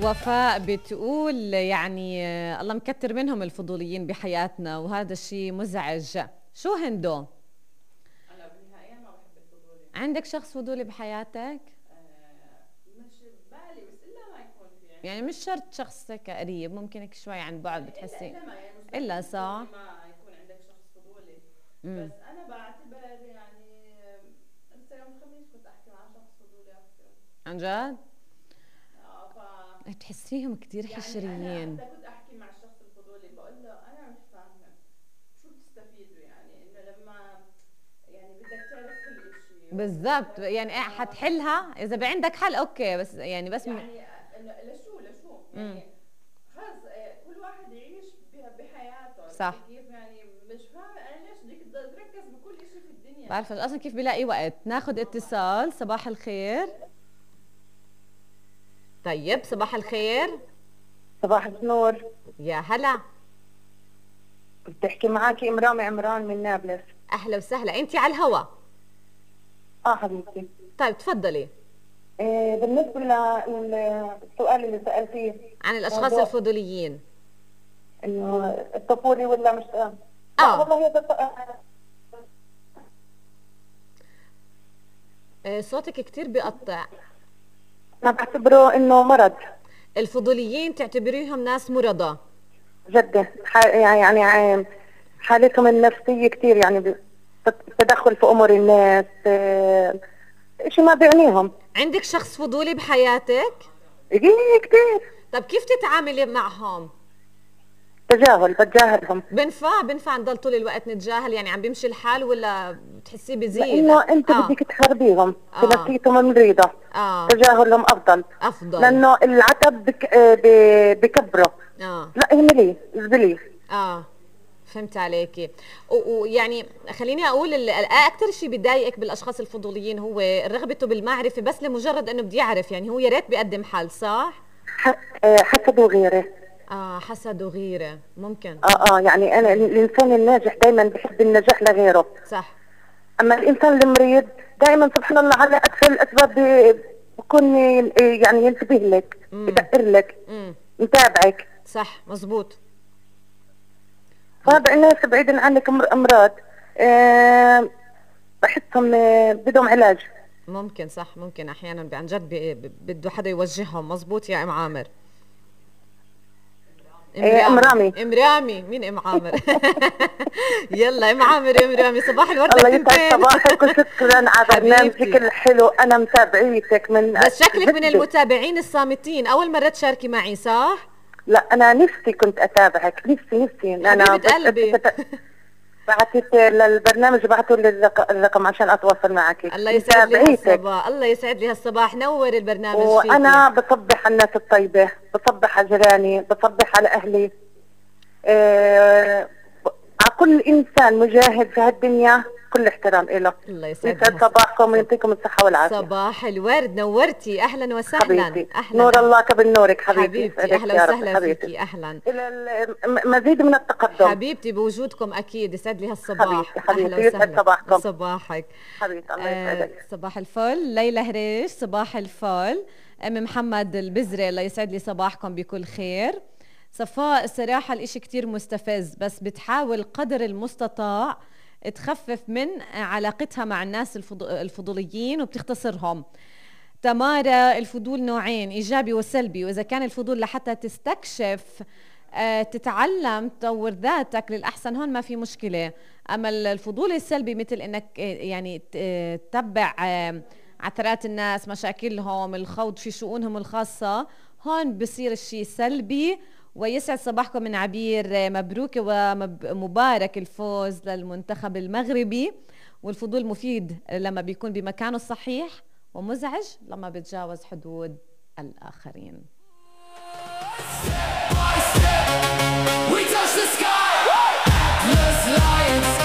وفاء بتقول يعني الله مكتر منهم الفضوليين بحياتنا وهذا الشيء مزعج. شو هندو؟ أنا بالنهاية ما بحب الفضولي. عندك شخص فضولي بحياتك؟ مش ببالي بس إلا ما يكون في يعني مش شرط شخص قريب، ممكن هيك شوي عن بعد بتحسي إلا ما يعني إلا صح؟ ما يكون عندك شخص فضولي. بس أنا بعتبر يعني لسه يوم الخميس كنت أحكي مع شخص فضولي أكثر. عن جد؟ بتحسيهم كتير حشريين. يعني أنا كنت أحكي مع الشخص الفضولي بقول له أنا مش فاهمة شو بتستفيدوا يعني إنه لما يعني بدك تعرف كل إشي. بالضبط يعني حتحلها إذا عندك حل أوكي بس يعني بس يعني لشو يعني خلص كل واحد يعيش بحياته. صح. كيف يعني مش فاهمة أنا ليش بدك تركز بكل إشي في الدنيا. بعرف أصلا كيف بلاقي وقت. ناخد اتصال. صباح الخير. طيب صباح الخير. صباح النور. يا هلا. بتحكي معاكي إمرامي عمران من نابلس. أهلا وسهلا. أنتي على الهوا. حبيبتي. طيب تفضلي. بالنسبة للسؤال اللي سألتيه عن الأشخاص الفضوليين إنه الطفولي ولا مش والله صوتك كتير بيقطع. أنا بعتبره إنه مرض. الفضوليين تعتبريهم ناس مرضى جدا يعني حالتهم النفسية كتير يعني تدخل في أمور الناس شيء ما بيعنيهم. عندك شخص فضولي بحياتك؟ إيه كتير. طب كيف تتعاملي معهم؟ بتجاهلهم. بنفع نضل طول الوقت نتجاهل يعني عم بيمشي الحال ولا بتحسيه بزيد؟ لأنه أنت بدك تحاربيهم بنفسيتهم المريضة. تجاهلهم أفضل لأنه العتب بكبره. لا اهمليه ازبليه. فهمت عليكي. ويعني خليني اقول اكثر شيء بيضايقك بالاشخاص الفضوليين هو رغبته بالمعرفه بس لمجرد انه بدي يعرف يعني هو يا ريت بيقدم حل صح؟ حسد وغيره. حسد وغيره ممكن. يعني انا الانسان الناجح دائما بحب النجاح لغيره. صح. اما الانسان المريض دائما سبحان الله على اكثر الاسباب بكون يعني ينتبه لك يدقر لك يتابعك. صح مزبوط. فهذا الناس بعيدا عنك امراض بحسهم بدهم علاج. ممكن صح ممكن احيانا عن جد بده حدا يوجههم. مزبوط يا ام عامر. امرامي مين ام عامر؟ يلا ام عامر امرامي صباح الورد. الله يسعد صباحك وشكرا على برنامجك الحلو. انا متابعيتك من بس شكلك من المتابعين الصامتين. اول مره تشاركي معي صح؟ لا انا نفسي كنت اتابعك نفسي انا قلبي بعثت للبرنامج بعثوا لي الرقم عشان اتواصل معك. الله يسعد لي هالصباح. الله يسعد لي هالصباح. نور البرنامج فيكي. وانا بصبح على الناس الطيبه بصبح على جيراني بصبح على اهلي على كل انسان مجاهد في هالدنيا كل احترام له. الله يسعد صباحكم ويعطيكم الصحه والعافيه. صباح الورد. نورتي. اهلا وسهلا. حبيبتي. اهلا. نور الله كبر نورك حبيبتي. اهلا وسهلا فيكي. اهلا. الى مزيد من التقدم حبيبتي بوجودكم اكيد. يسعد لي هالصباح. حبيبتي يسعد صباحكم. صباحك حبيبتي. الله يسعدك. صباح الفل. ليلى هريش صباح الفل. ام محمد البزري الله يسعد لي صباحكم بكل خير. صفاء الصراحه الاشي كتير مستفز بس بتحاول قدر المستطاع تخفف من علاقتها مع الناس الفضوليين وبتختصرهم. تمارا الفضول نوعين ايجابي وسلبي واذا كان الفضول لحتى تستكشف تتعلم تطور ذاتك للاحسن هون ما في مشكله. اما الفضول السلبي مثل انك يعني تتبع عثرات الناس مشاكلهم الخوض في شؤونهم الخاصه هون بصير الشيء سلبي. ويسعد صباحكم من عبير. مبروك ومبارك الفوز للمنتخب المغربي. والفضول مفيد لما بيكون بمكانه الصحيح ومزعج لما بتجاوز حدود الآخرين. We touch the sky. Atlas lions